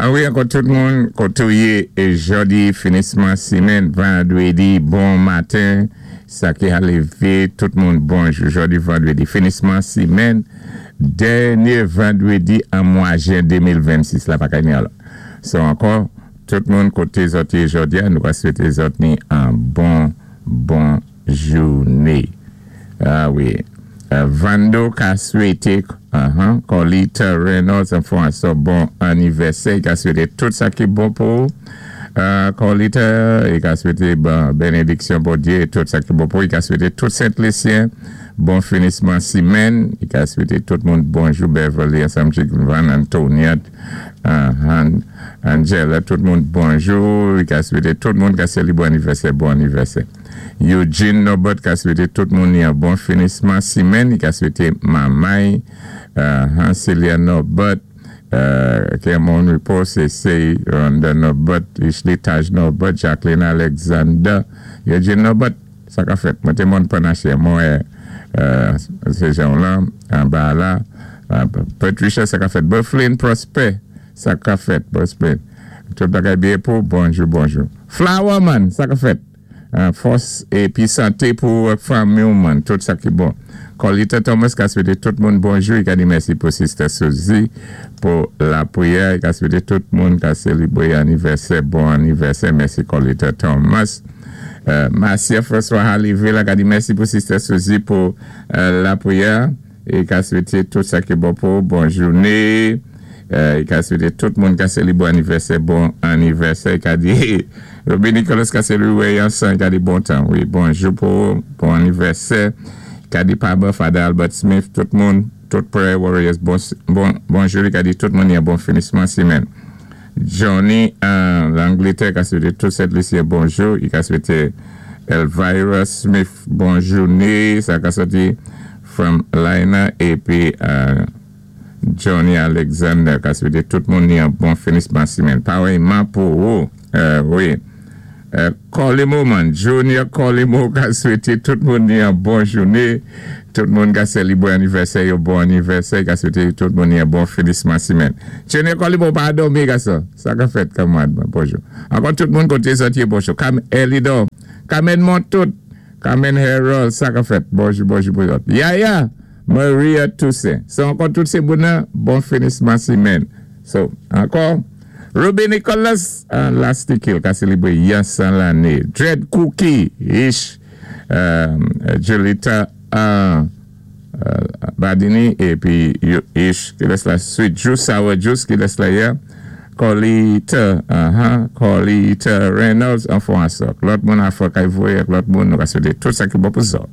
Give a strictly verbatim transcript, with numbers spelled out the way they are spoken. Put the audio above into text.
A wi, ankò tout moun, koté ou yé, jòdi, finisman simenn, vandwédi, bon maten, sa ki a lévé, tout moun bonjou, jòdi, vandwédi, finisman simenn, dènyé vandwédi an mwa jen de mil vennsis, la pa ka ni ala. So ankò, tout moun koté zòt yé jòdi a, nou ka swété zòt ni an bon, bon jouné. A wi. Vando ka swété uh-huh, Colita Reynolds an fon so bon anivèsè, ka swété tout sa ki bon pou uh, Colita, i ka swété bon, benediksyon Bondyé, tout sa ki bon pou, i ka swété tout Sent-Lisyen, bon finisman simenn, i ka swété tout moun bonjou, Beverly, ansanm Van Antonia, uh, Angela, tout moun bonjou, i ka swété tout moun ka seli bon anivèsè, bon anivèsè. Eugene Norbert ka swété tout moun ni an bon finisman simenn, i ka swété Mamay, uh, Celia Norbert, uh, Kermon Repos, Sey Ronda Norbert, Ishley Taj Norbert, Jacqueline Alexander, Eugene Norbert, sa ka fèt, mwen té moun panache, mwen uh, sé jan lan, anba la, uh, Patricia, sa ka fèt, Bufflin Prosper, sa ka fèt, Prosper, tout bagay byen pou, bonjou, bonjou. Flower Man, sa ka fèt. Fòs épi santé pou fanmi ou man, tout sa ki bon. Colita Thomas ka swété tout moun bonjou, i ka di mèsi pou Sister Suzy, pou lapriyè, i ka swété tout moun ka sélébwé anivèsè, bon anivèsè, mèsi Colita Thomas. Marcia François Haliville ka di mèsi pou Sister Suzy pou lapriyè, i ka swété tout sa ki bon pou, bon jouné, i ka swété tout moun ka sélébwé anivèsè, bon anivèsè, i ka di Robin Nicolas ka sélébwé yansan, ka di bon tan, wi, bonjou pou, bon anivèsè, ka di Paba, Father Albert Smith, tout moun, tout Prayer Warriors, bon, bonjou, ka di tout moun yon bon finisman simenn. Johnny, Langletè, ka swété tout Sent-Lisyen bonjou, i ka swété Elvira Smith, bon jouné, sa ka soti from Lina, épi Johnny Alexander, ka swété tout moun yon bon finisman simenn. Pawèyman pou ou, wi. Colimo man, Junior Colimo ka swété tout moun ni an bon jouné, tout moun ka sélibwé anivèsè yo bon anivèsè, ka swété tout moun ni an bon finisman simenn. Junior Colimo pa dòmi ka sa, sa ka fèt kamwad, bonjou. Ankò tout moun koté zòt yé bonjou. Kam Elidor, Kamen Montout, Kamen Harold, sa ka fèt, bonjou, bonjou, bonjou. Yaya, Maria Toussaint. So ankò tout sé moun nan, bon finisman simenn. So, ankò, Ruby Nicholas, an Lastikil, ka sélibwé yansan lanné. Dread Cookie, ish, Julita, Badini, épi ish, ki lès la Sweet Juice, Sour Juice, ki lès la ya. Colita, aha, Colita Reynolds, an fon asok. Lòt moun a fò kay voyé, lòt moun nou ka swété tout sa ki bon pou zòt.